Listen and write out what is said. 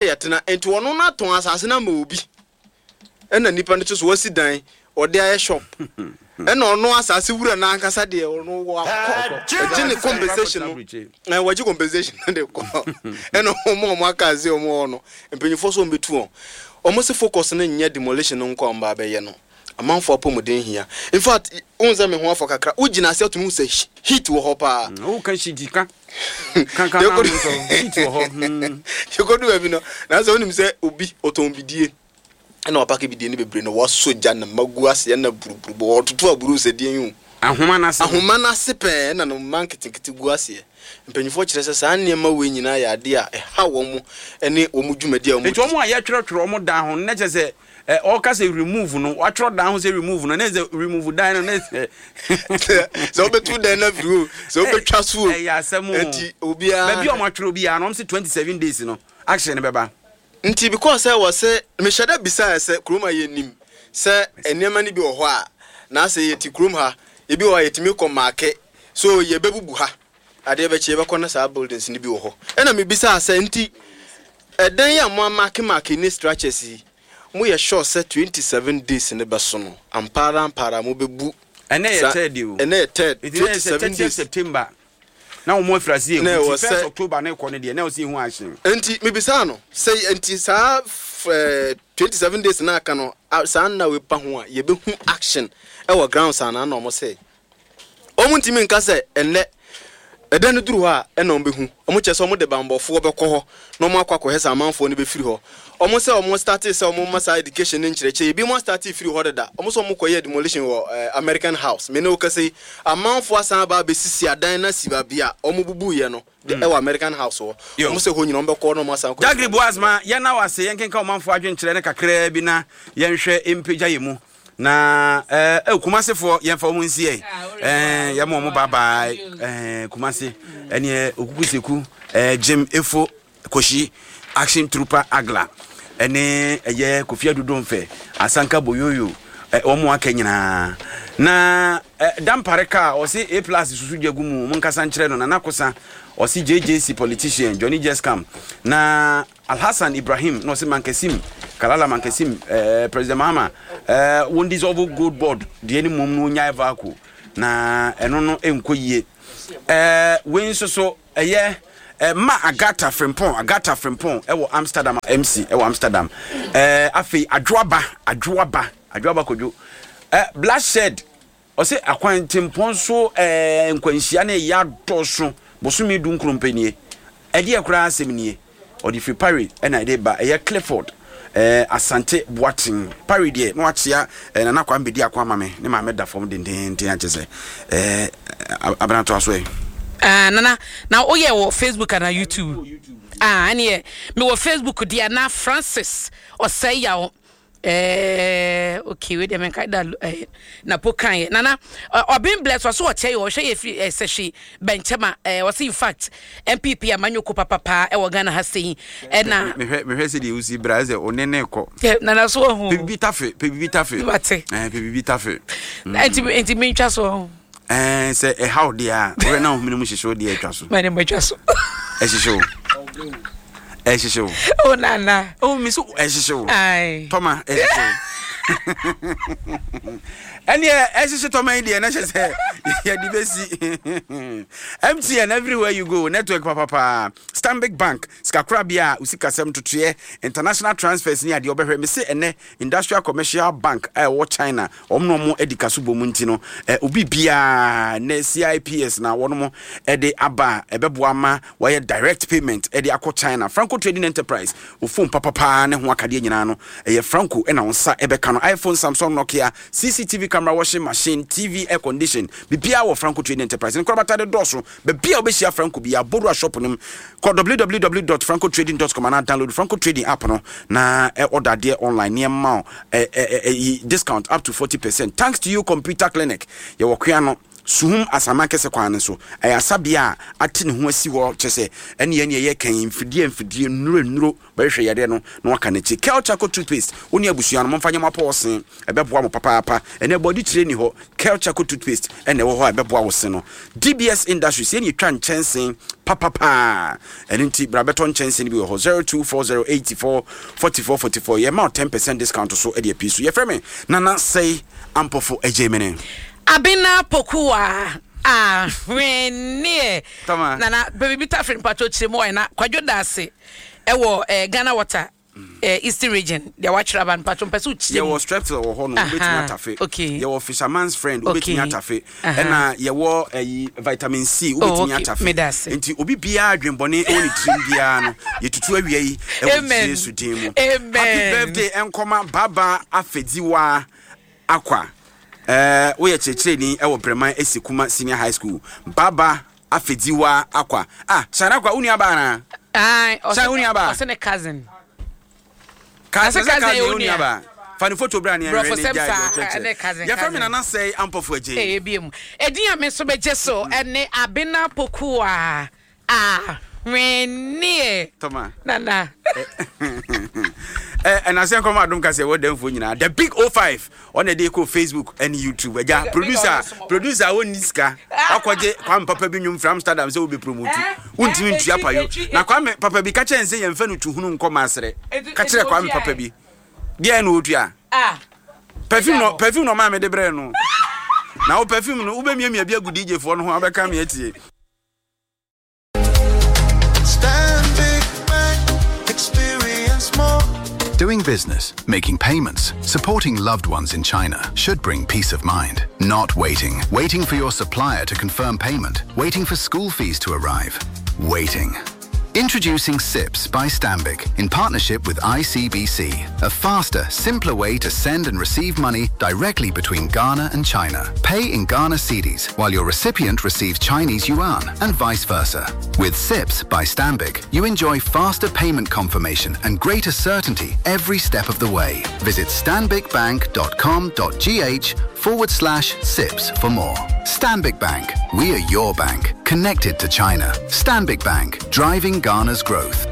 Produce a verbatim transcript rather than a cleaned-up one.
Yɛtena nti ɔno no atɔn asase no ama obi, ɛna nipa no nso so wasi dan ɔde ayɛ shop, ɛna ɔno asase wura n'ankasa deɛ, ɔno wakɔ ɛgye ne compensation no, ɛɛ wɔgye compensation no de kɔ. Ɛna ɔmo a ɔmo aka ase ɔmo wɔ no, mpanyinfoɔ so ɔmo bɛtu wɔn. Ɔmo sɛ focus no nyɛ demolition no nko a ɔmo ba abɛyɛ no. Amanfoɔ apɔmuden hia. In fact, ohun sɛ me ho afɔ kakra, wogyina ase atumi hu sɛ heat wɔ hɔ paa. Woka heat ka kankan na nso heat wɔ hɔ mm. Yɛkɔdu baabi no na sɛ wonim sɛ obi ɔtɔn bidie, ɛna wapake bidie no bebree na wasɔ gya na magu aseɛ na buruburu bɔ ɔtoto aburu sɛ deɛ yi o. Ahoma no ase. Ahoma no ase pɛɛ na no mma nketenkete gu aseɛ. Mpanyinfoɔ kyerɛ sɛ saa nneɛma wei nyinaa yɛ adeɛ a ɛha wɔn mo ne wɔn dwumadi a wɔn Nti wɔn a yɛtwerɛtwerɛ wɔn dan ho no, na kyerɛ sɛ ɛ ɔka sɛ remove no, watwerɛ dan ho sɛ remove no, ne sɛ remove dan no, ne sɛ sɛ wobɛtu dan no afiri o, sɛ wobɛtwa so o. Ɛyɛ asɛm o. Nti obiara baabi a wɔn atwerɛ obiara no, wɔn sɛ twenty seven days no, action no bɛba. Nti because sɛ wɔ sɛ mehyɛ dɛ bisaeɛ sɛ kurom a yɛnim sɛ nneɛma no bi wɔ hɔ a, na sɛ yɛte kurom ha, ebi wɔ hɔ a yɛtumi kɔ mark so yɛbɛbubu ha, adeɛ bɛkyi yɛbɛkɔ na saa buildings no bi wɔ hɔ. Ɛna mebisaa sɛ, nti ɛdan yi a mo amark mark ne structures yi, moyɛ sure sɛ twenty-seven days ne bɛso no ampara ampara mobɛbu? Ɛnɛ yɛ Sa- third o. Ɛnɛ yɛ third. Nti na yɛ sɛ twenty-seven thirtieth days September na wɔn afiri ase yɛ Na hu ɛwɔ nti first sɛ- October ne kɔ ne deɛ na ɔsi ehu action. Nti mebisaa no sɛ, nti saa f- twenty-seven days na aka no a- saa nna wei pa ho a yɛbɛhu action ɛwɔ grounds anaa? Na ɔmo sɛ ɔmo ntumi nka sɛ ɛnnɛ ɛdan no duru hɔ a ɛna ɔmo bɛhu. Ɔmo kyerɛ sɛ ɔmo de bambɔfoɔ bɛkɔ hɔ na ɔmo akɔ akɔhɛ sɛ amanfoɔ no bɛfiri hɔ. Ɔmo sɛ ɔmo start sɛ ɔmo ma saa education ne nkyerɛkyerɛ, ebi mo start firi hɔ deda. Ɔmo sɛ ɔmo kɔyɛ demolition wɔ ɛɛ American House. Mene okasa yi, amanfoɔ asan aba abɛsisi adan na si baabi a ɔmo bubu yɛ no de ɛwɔ American House hɔ. Yo. Ɔmo sɛ hɔ nyina ɔmo bɛkɔ na ɔmo asan kɔ. Jagri Boasma, yɛn na wase yɛn kenka ɔmanfoɔ adwenkyerɛ ne kakraa bi na yɛnhwɛ mpagya yɛ mu na ɛɛ eh, Kumasefoɔ, yɛmfa wɔn nsi ɛ ɛɛ yɛma wɔn bye bye. ɛɛ Kumase ɛneɛ Okuku Seku, ɛɛ Jim Efo Koshi, Action Trooper Agla, ɛne ɛyɛ Kofi Adudo Nfɛ Asanka Boyoyo, ɛ wɔn aka nyinaa na ɛ Dampare kaa ɔsi A Plus susu gya gu mu. Mo nkasa nkyerɛ no. Nana Kosa ɔsi J J C politician Johnny Jeskam na Alhassan Ibrahim na ɔsi Mankasim Kalala Mankasim, ɛɛ President Mahama ɛɛ wɔn dissolve Gold Board deɛ ne mom no nyae vaco na ɛno no nkɔ yie. ɛɛ wei nso so ɛyɛ ɛɛ ma Agata Frimpong, Agata Frimpong ɛwɔ Amsterdam, M C ɛwɔ Amsterdam. ɛɛ afei Adwoaba, Adwoaba, Adwoaba Kodwo, ɛɛ Bloodshed ɔsɛ akwantempɔn so ɛɛ nkwanhyia no ɛyɛ adɔso bosome du nkron pɛ nie. Ɛdeɛ koraa asɛm nie, ɔde firi Paris ɛna ɛde ba. Ɛyɛ Clifford ɛɛ Asante Boaten Paris deɛ na wakyea ɛɛ Nana Kwame bɛdi ako ama me ne maame da fam dendenden akyɛ sɛ ɛɛ abenatoa so ɛ. Ah, Nana, na woyɛ wɔ Facebook ana YouTube? Ah, ɛneɛ mewɔ Facebook deɛ na Francis Ɔsɛe Yaw. Eh, okay, wei deɛ menkae da eh, napo kaeɛ. Nana Ɔben Bless ɔso ɔkyɛ yɛ ɔhwɛ yɛ firi eh, Sɛhwe Bɛnkyɛm a eh, ɔse in fact N P P amanyɔko papapaa ɛwɔ Ghana ha sei ɛna Mehwɛ mehwɛ sɛ deɛ wosi bra sɛ ɔne ne kɔ. Eh, Nana so ɔho. Pɛ bibi tafe, pɛ bibi tafe. Wate. ɛɛ pɛ bibi tafe. nti nti mentwa so ɔho. ɛɛ sɛ ɛha wo deɛ a, wɔyɛ na ohun mu hyehyɛ wo deɛ, atwa so. Mane matwa so. Ɛhyehyɛ wo, ɛhyehyɛ wo. Oh, Nana. Oh, mi so ɛhyehyɛ wo. Ai. Tɔma ɛhyehyɛ wo. Ɛneɛ ɛhyehyɛ tɔma yi deɛ na kyɛ sɛ yɛde bɛsi. M T N, everywhere you go, network papapaa. Stanbic Bank, sikakorabea a osikasɛm totoeɛ, international transfers ne adeɛ ɔbɛhwɛ. Me se ɛnɛ Industrial Commercial Bank a ɛwɔ China, wɔn na wɔn adi kaso bɔ mu nti no ɛ obi biara ne C I P S na wɔn ɛde aba a ɛbɛboa ma wɔayɛ direct payment ɛde akɔ China. Franco Trading Enterprise, o phone papapaa ne ho akadeɛ nyinaa no ɛyɛ Franco ɛna wɔn nsa ɛbɛka no: iPhone, Samsung, Nokia, C C T V camera, washing machine, T V, air condition, biribiara wɔ Franco Trading Enterprise. Ne nkorabata de dɔɔso. Baabi a wobɛhyia Franco bi abodua shop no mu, kɔ w w w dot francotrading dot com anaa download Franco Trading app no na ɛ order adeɛ online nneɛma ɛ ɛ ɛ discount up to forty percent. Thanks To You Computer Clinic, yɛwɔ Koa no Suhum Asamankese kwan no so. Ɛyɛ asabea a ate ne ho asi hɔ, kyerɛ sɛ ɛne yɛn yɛyɛ kan mfidie mfidie nnuro nnuro bɛhwehwɛ yadeɛ no na waka n'akyi. Kel Charcoal toothpaste, wo ne abusua no momfa nyɛ mo apɔɔsen, ɛbɛboa mo papaapa. Ɛnɛ bɔde tire ni hɔ, Kel Charcoal toothpaste ɛna ɛwɔ hɔ a ɛbɛboa wo se no. D B S Industries, yɛne yɛtwa nkyɛnsee papapaa, ɛno nti bra bɛtɔ nkyɛnsee no bi wɔ hɔ, zero two four zero eighty-four forty-four forty-four. Yɛma wo ten percent discount so ɛde apii so. Yɛfrɛ me Nana Sɛi Ampɔfo Agyei Mene. Abena Pokuwa ahweneɛ. Tama. Nana baabi tafere mpatwɔ kyerɛ mu ɔyɛ na Kwadwo Daase ɛwɔ eh, Ghana Water eh, Eastern Region deɛ wakyerɛ aba no, mpatwɔ mpɛ sɛ wokyerɛ mu. Yɛwɔ Strepsil wɔ hɔ no, wobɛtumi Aha, atafe. okay. Yɛwɔ Fisherman's Friend, wobɛtumi Okay. atafe. Aha. Ɛna yɛwɔ ɛyi vitamin C, Oh, wobɛtumi okay. atafe. Meda ase. Nti obi biara adwenbɔne ɛwɔ ne tirim biara no, yɛtutu awia yi ɛwɔ Amen. Yesu din mu. Amen. Happy birthday ɛnkɔma Baba Afedziwa Akwa. ɛɛ woyɛ kyerɛkyerɛni ɛwɔ Breman Esi Kuma Senior High School. Baba Afedziwa Akwa, ah, Shana Akwa, wo nua baa na Aye, ɔsɛ Shine, wo nua ba? Ɔsɛ ne cousin. Ka Ase sɛ cousin cousin yɛ wo wo nua nua. baa, fa ne photo bra ne Brɔfo ɛnwere ne sɛm gyae saa, deɛ ɔkyerɛkyerɛ. ɛne cousin, Yɛfrɛ me cousin. Nana Sɛe Ampɔfo Agyei. Ɛyɛ bie mu ɛdin a me nso bɛgye so ɛne Abena Pokuwa ahweneɛ. Tɔma. Nana. Ɛ ɛnasɛ nkɔmɔ adom kasa ɛwɔ dɛmfoɔ nyinaa, the big O five, ɔna ɛde kɔ Facebook ɛne YouTube agya. Big- Producer big ɔno producer a wɔnni sika wakɔgye Kwame Papa bi nnwom firi Amsterdam sɛ wobɛ promote, Eh, wontumi eh, ntua etwi- payo etwi- na Kwame Papa bi ka kyerɛ n sɛ yɛmfa no tuhunu nkɔ maaserɛ. Etu- Ka kyerɛ etu Kwame otua Papa ɛ. bi deɛ na ɔtua. Ah. Perfume no Ɛda hɔ. Perfume no ɔmaa mede brɛ no na wo perfume no wobɛmiamia bi agu D J foɔ no ho a wobɛka me atie. Stanbic Bank, experience more. Doing business, making payments, supporting loved ones in China should bring peace of mind. Not waiting. Waiting for your supplier to confirm payment. Waiting for school fees to arrive. Waiting. Introducing SIPS by Stanbic in partnership with I C B C, a faster, simpler way to send and receive money directly between Ghana and China. Pay in Ghana cedis while your recipient receives Chinese yuan and vice versa. With SIPS by Stanbic, you enjoy faster payment confirmation and greater certainty every step of the way. Visit stanbicbank dot com dot G H forward slash SIPS for more. Stanbic Bank, we are your bank, connected to China. Stanbic Bank, driving Ghana's growth.